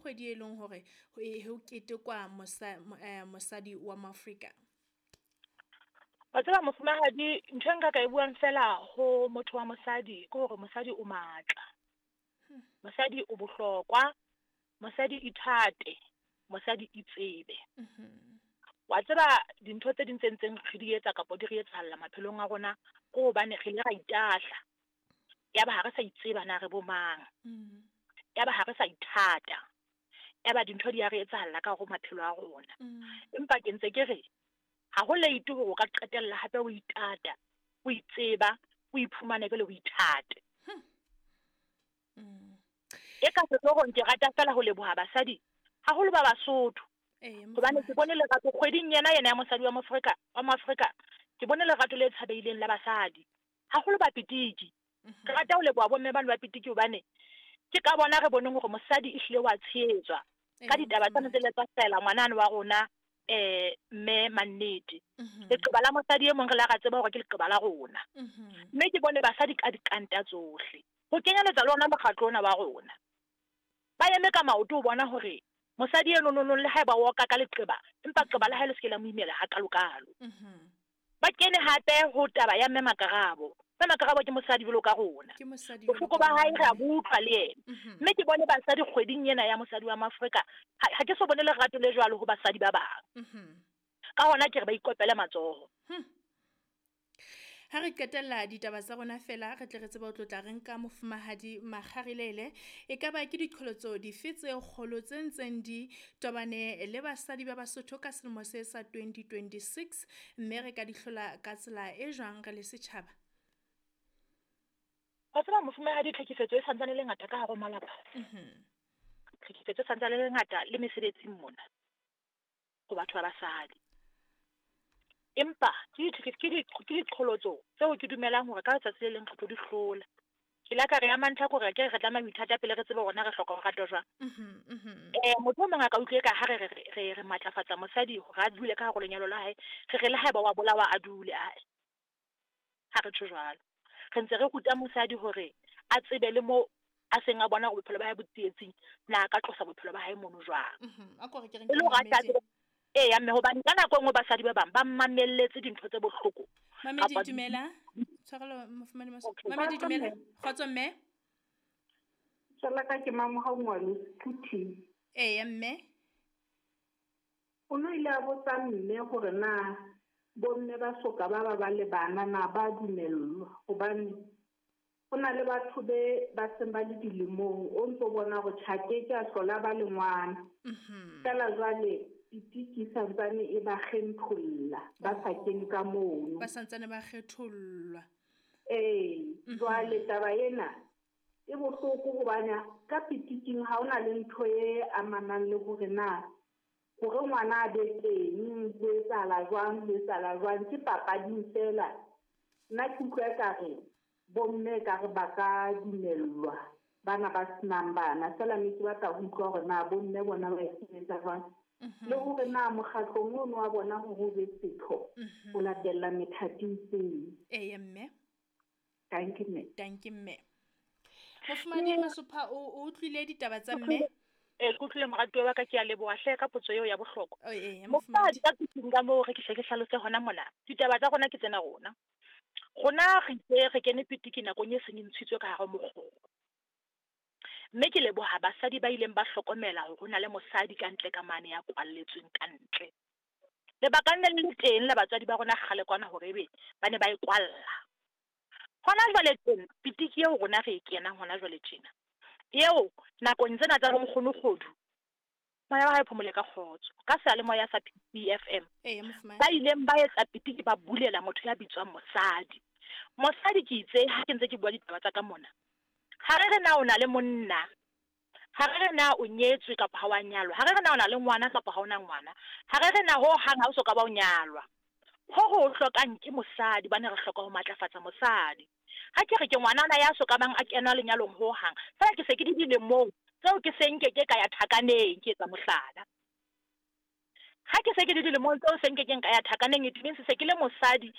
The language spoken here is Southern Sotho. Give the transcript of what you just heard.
kgwedi e leng hore ho ketekwa mosadi wa Moafrika? Wa tseba mofumahadi, ntho e nka ka e buang fela ho motho wa mosadi ke hore mosadi o matla. Mosadi o bohlokwa, mosadi ithate, mosadi itsebe. Wa tseba dintho tse ding tse ntseng re di etsa kapa di re etsahalla maphelong a rona ke hobane re ile ra itahla. Yaba ha re sa itseba na re bo mang. Yaba ha re sa ithata. Yaba dintho di a re etsahalla ka hare ho maphelo a rona. Empa ke ntse ke re ha ho late hore o ka qetella hape o itata, o itseba, o iphumane jwale o ithate. E ka sehloohong ke rata fela ho leboha basadi, haholo ba Basotho. Hobane ke bone lerato kgweding yena yena ya mosadi wa Moafrika, wa Moafrika, ke bone lerato le tshabeileng la basadi, haholo ba Pitiki. Ke rata ho leboha bomme bano ba Pitiki hobane ke ka bona re boneng hore mosadi ehlile wa tshehetswa ka ditaba tsane tse le tsa hlahela ngwanane wa rona mme Mannete. Leqeba la mosadi e mong re la ra tseba hore ke leqeba la rona. Mme ke bone basadi ka dikanta tsohle. Ho kenyeletsa le ona mokgatlo ona wa rona. Ba eme ka maoto ho bona hore mosadi eno nonong le haeba o oka ka leqeba, empa leqeba la hae le se ke la mo imela hakalo-kalo. Ba kene hape ho taba ya mme Makarabo. Mme Makarabo ke mosadi jwalo ka rona. Bohloko ba hae re a bo utlwa le yena. Mme ke bone basadi kgweding ena ya mosadi wa Moafrika, ha ke so bone lerato le jwalo ho basadi ba bang. Ka hona ke re ba ikopele matsoho. Ha re qetella ditaba tsa rona fela, re tle re tsebe ho tlotla re nka mofumahadi Makgarilele. E ka ba ke diqholotso dife tse kgolo tse ntseng di tobane le basadi ba Basotho ka selemo se sa 2026, mme re ka di hlola ka tsela e jwang re le setjhaba? Wa tseba mofumahadi, tlhekefetso e santsane le ngata ka hare ho malapa. Tlhekefetso e santsane le ngata le mesebetsing mona ho batho ba basadi. Empa ke diqholotso tseo ke dumelang hore ka letsatsi le leng re tlo di hlola. Ke la ka re ya mantlha ke hore ke re tlameha ho ithata pele re tsebe hore na re hloka ho ratwa jwang. Motho o mong a ka utlwe ka ha re re re matlafatsa mosadi hore a dule ka hare ho lenyalo la hae, re re le haeba wa bolawa a dule ae. Ha re tjho jwalo. Re ntse re ruta mosadi hore a tsebe le mo a seng a bona hore bophelo ba hae bo tsietsing, na a ka tlosa bophelo ba hae mono jwang. A ko re ke re E le hore a tla tsebe. Eya mme hobane ka nako e nngwe basadi ba bang ba mamelletse dintho tse bohloko. Mamedi dumela. Tshwarelo mofumahadi Maso. Mamedi dumela. Kgotso mme. Tsala ka ke mamoha ngwalo Phuthi. Eya mme. O no ile a botsa mme hore na bomme ba soka ba ba ba le bana na ba dumellwa, hobane ho na le batho be ba seng ba le dilemong, o ntso bona hore tjha ke ke a hlola ba le ngwana. Fela jwale pitiki santsane e ba kgetholla, ba sa kene ka mono. Ba santsane ba kgethollwa. Ee, jwale taba ena e bohloko hobane ka pitiking ha hona le ntho e amanang le hore na hore ngwana a be teng, ho etsahala jwang, ho etsahala jwang, ke papading fela. Nna ke utlwa ekare bomme ekare ba ka dumellwa bana ba senang bana, fela mme ke batla ho utlwa hore na bomme bona ba e sebetsa jwang. Le hore na mokgatlong ono wa bona hore o be setho, o latella methati e itseng. Eya mme. Thank you, mme. Thank you, mme. Mofumahadi Masopha, o utlwile ditaba tsa mme? Ee, ke utlwile moratuwa wa ka, ke a leboha hle ka potso eo ya bohlokwa. Oh, ee, Mofumahadi, ka kutung ka moo re ke hle ke hlalose hona mona. Ditaba tsa rona ke tsena rona. Rona re itse re kene pitiki nakong e seng e ntshitswe ka hare ho mokgoro. Mme ke leboha basadi ba ileng ba hlokomela hore ho na le mosadi ka ntle ka mane ya kwalletsweng ka ntle. Lebaka le le teng la batswadi ba rona kgale kwana hore ebe ba ne ba e kwalla. Hona jwale teng pitiki eo rona re e kenang hona jwale tjena, eo nakong tsena tsa bonkgono kgodu, moya wa hae phomole ka kgotso, ka seyalemoya sa PFM, ba ileng ba etsa pitiki ba bulela motho ya bitswang mosadi. Mosadi ke itse ha ke ntse ke bua ditaba tsa ka mona, ha re re na o na le monna, ha re re na o nyetswe kapa ha wa nyalwa, ha re re na o na le ngwana kapa ha o na ngwana, ha re re na ho hang ha o soka ba o nyalwa. Ho ho hlokang ke mosadi, bane re hloka ho matlafatsa mosadi. Ha ke re ke ngwanana ya soka bang a kena lenyalong ho hang, fela ke se ke di dilemong tseo ke se nke ke ka ya thakaneng, ke etsa mohlala. Ha ke se ke di dilemong tseo se nke ke nka ya thakaneng, it means se ke le mosadi